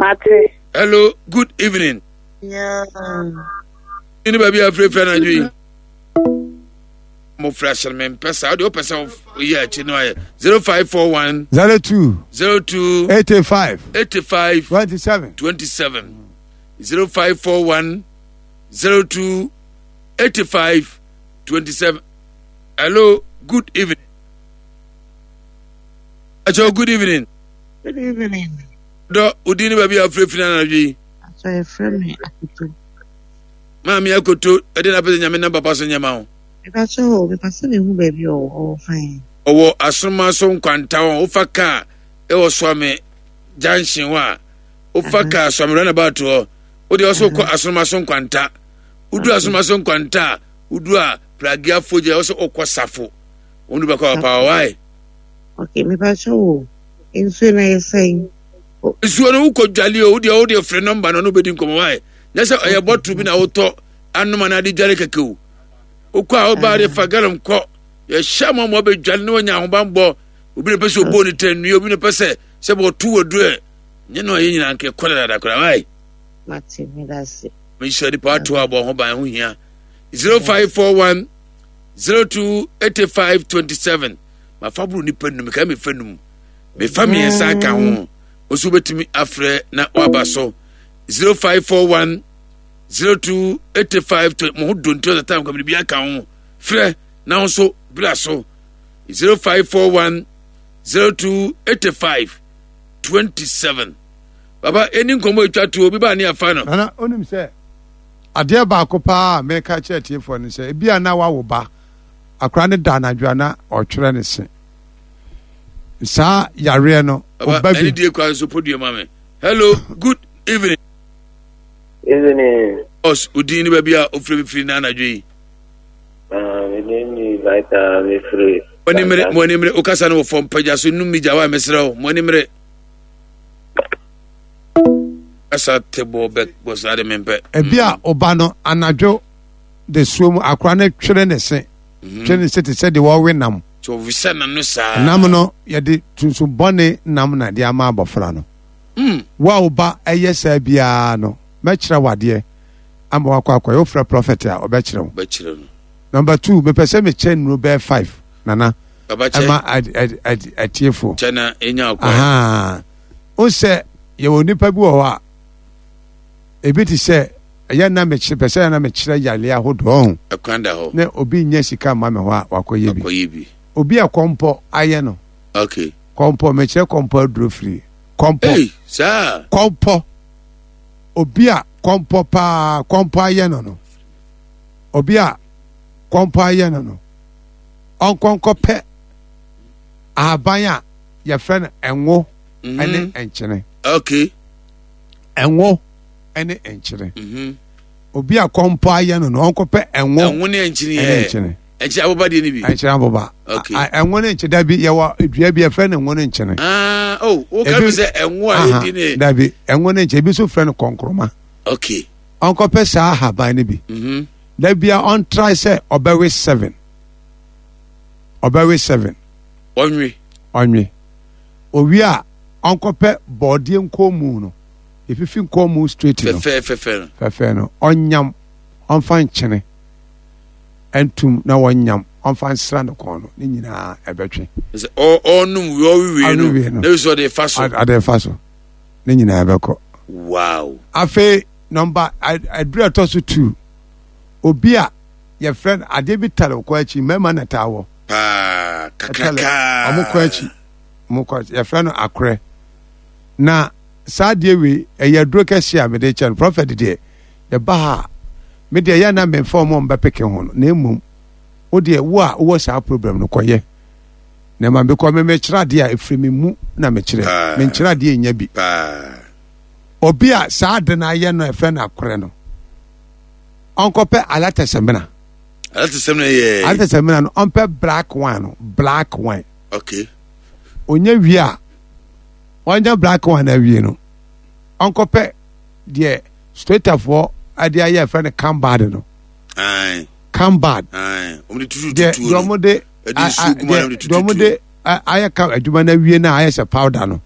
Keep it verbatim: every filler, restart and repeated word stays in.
Mate. Hello, good evening. Yeah. Ne baabi a afirafira anadwo yi mofra hyɛn me mpɛ saa wode wopɛ sɛ woyɛ akyi no ayɛ zero five four one zero two zero two eighty five eighty five twenty seven twenty seven zero five four one zero two eighty five twenty seven. Hello, good evening. Acho, good evening. Good evening. Dɔ, wodin ne baabi a wofirafira anadwo yi. Aso yɛfrɛ me Akoto. Maame Akoto, ɛde na apɛ sɛ Nyame nam papa so nyɛ ma wo. Mepa kyɛ o, mepa sɛ mehu baabi a ɔwɔ, ɔwɔ fan. Ɔwɔ Asoroma so nkwanta hɔ, wofa kaa ɛwɔ Suame junction hɔ a, wofa kaa Suame runabout hɔ, wode ɔsɛ wokɔ Asoroma so nkwanta. Wodu Asoroma so nkwanta a, wodu a Pragiafo gyina ɔsɛ wokɔ Safo. Wɔn du bɛkɔ papa why? Okay, mepa kyɛ o, nsuo na yɛ sɛn? Nsuo no wokɔ dwale o, wodeɛ wodeɛ frɛ nɔmba no na wobɛdi nkɔmmɔ why? Nyɛ sɛ ɔyɛ bɔtoro bi na wotɔ anom anaa de dwale kɛkɛ o. Wokɔ a wobaa de fa gallon kɔ. Yɛhyɛ ma ma wabɛdwale na wanya ahobanbɔ. Obi na pɛ sɛ ɔbɔ ne tɛnnua, obi na pɛ sɛ sɛ wɔto waduro ɛ. Nyɛ no a yɛ nyinaa nka ɛkɔ dadaada koraa why? Mate, meda ase. Mehyɛ nipa ato abɔ ho ban ho hia. zero five four one zero two eighty five twenty seven. Mafa boro nipa num, kae mefa num. Mefa mmiɛnsa aka ho. Osu betumi afrɛ na waba so. zero five four one zero two eighty five twenty. Mo ho donti ɔsɛ tam kwamini bi aka ho. Frɛ na ho so bra so. zero five four one zero two eighty five twenty seven. Baba eni nkɔmɔ etwa to obi ba ne afa no. Nana onim sɛ adeɛ baako paa a meka kyerɛ atiefoɔ no sɛ ebi a na wawo ba akora ne da anadwo a na ɔtwerɛ ne se saa yareɛ no ɔba bi. Ɛne die kwan so podua ma me. Hello, good evening. Evening. Ɔs odin ne baabi a ofiri mi firi na anadwo yi. Ah, me din ni Vita me firi. Mo ani mmere, mo ani mmere, okasa no wɔ fam pagya so num mi gya wa mesrɛ wo, mo ani mmere. Kasa te bɔ bɛ bɔ saa de mempɛ. Ebi a ɔba no anadwo de suo mu akora no twere ne se mhm. twere ne se te sɛ deɛ wɔwe nam. Tí ɔwisa n'ano saa. Nam no yɛde tuntum bɔne nam na de ama abɔfra no. Mm. Wo a wo ba ɛyɛ saa biara no mɛkyerɛ wo adeɛ ama wakɔ akɔyɛ wofrɛ prɔfɛt a ɔbɛkyerɛ wo. Bɛkyerɛ no. Number two mepɛ sɛ mekyɛ nnuro bɛyɛ five nana ɛma atiefoɔ. Kyɛ na enya ɔkwan. Wo sɛ yɛwɔ nipa bi wɔ hɔ a ebi te sɛ ɛyɛ na mekyerɛ pɛ sɛ na mekyerɛ yareɛ ahodoɔ ho. Ɛkwan da hɔ. Na obi nyɛ sika mma me hɔ a wakɔyɛ bi. Wakɔyɛ bi. Obi a kɔmpɔ ayɛ no. Okay. Kɔmpɔ mekyerɛ kɔmpɔ aduro firi. Kɔmpɔ. Hey, saa. Kɔmpɔ. Obi a kɔmpɔ paa kɔmpɔ ayɛ no no. Obi a kɔmpɔ ayɛ no no. Ɔnkɔnkɔ pɛ ahaban a yɛfrɛ no ɛnwo mhm. ɛne nkyene. Okay. Ɛnwo ɛne nkyene. Mhm. Obi a kɔmpɔ ayɛ no no ɔnkɔpɛ ɛnwo. Ɛnwo ne nkyene yɛ. Ɛne nkyene. Nkyene aboba deɛ ni bi. Nkyene aboba. Okay. Ɛnwo ne nkyene dabi yɛwɔ dua bi yɛfrɛ no ɛnwo ne nkyene. Ah, oh, wo ka mi sɛ ɛnwo a yɛdi ne. Dabi ɛnwo ne nkyene ebi nso frɛ no kɔnkroma. Okay. Ɔnkɔpɛ saa ahaban no bi. Mhm. Dabi a ɔntrae sɛ ɔbɛwe seven. Ɔbɛwe seven. Ɔnwe. Ɔnwe. Owie a ɔnkɔpɛ bɔɔdeɛ nkɔnmu no. Efifi nkɔnmu straight no. Fɛfɛ fɛfɛ no. Fɛfɛ no. Ɔnyam ɔnfa nkyene. Ntum na wɔnyam ɔmfa nsra no kɔn no ne nyinaa ɛbɛtwe. Sɛ ɔnom wie ɔwewie no na sɛ ɔde fa so. Ɔde fa so ne nyinaa ɛbɛkɔ. Wow. Afei nɔmba aduru ɛtɔ so two obi a yɛfrɛ no adeɛ bi tare kɔ akyi mmarima na taa wɔ. Paa kakraka. Ɔmo kɔ akyi ɔmo kɔ akyi yɛfrɛ no akorɛ na saa adeɛ wei ɛyɛ aduro kɛseɛ a mede kyɛ no prɔfɛt deɛ yɛba ha a me deɛ yɛ na memfa wɔn a wɔbɛpeke ho no na mmom wo deɛ wo a wowɔ saa problem no kɔyɛ na ma mekɔ me mekyerɛ adeɛ a ɛfiri me mu na mekyerɛ menkyerɛ adeɛ nya bi obi a saa ade no ayɛ no ɛfrɛ no akorɛ no ɔnkɔpɛ alatɛsɛmina alatɛsɛmina yɛ alatɛsɛmina no ɔmpɛ black wine no black wine okay onye wie a ɔnya black wine awie no ɔnkɔpɛ deɛ Stratafoɔ de ayɛ ɛfɛ no cambad no. Cambad. Deɛ deɛ wɔn de deɛ wɔn de ayɛ ka adwuma no awie no a ayɛ sɛ powder no.